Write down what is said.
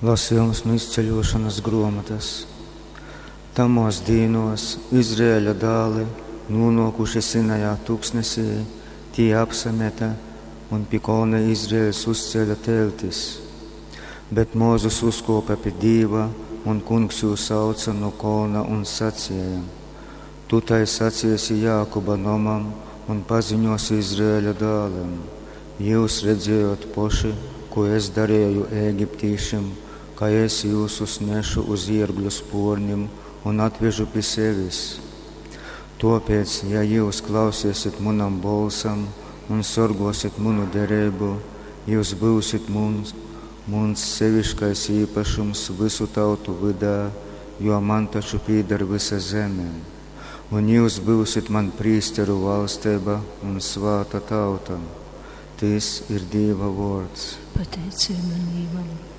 Lasījums nu izceļošanas gruomotas. Tamōs dīnōs Izraeļa dāli, nūnōkuši Sinajā tuksnesī, tī apsamete un pi kolna Izraels uzcēle teltis. Bet Mozus uzkōpe pi Dīva, un Kungs jū sauce nu kolna un saceja, Tu tai saceisi Jākuba nomam un paziņōsi Izraeļa dālim, Jyus redzējot poši, kū es dareju egiptīšim, kai es jyusus nešu uz iergļu spōrnim un atvežu pi sevis. Tōpēc, ja jyus klauseisit munam bolsam un sorgōsit munu dereibu, jyus byusit muns, muns seviškais īpašums vysu tautu vydā, jo man taču pīdar vysa zeme. Un jyus byusit man prīsteru valsteiba un svāta tauta. Tys ir Dīva vōrds. Pateiceiba Dīvam.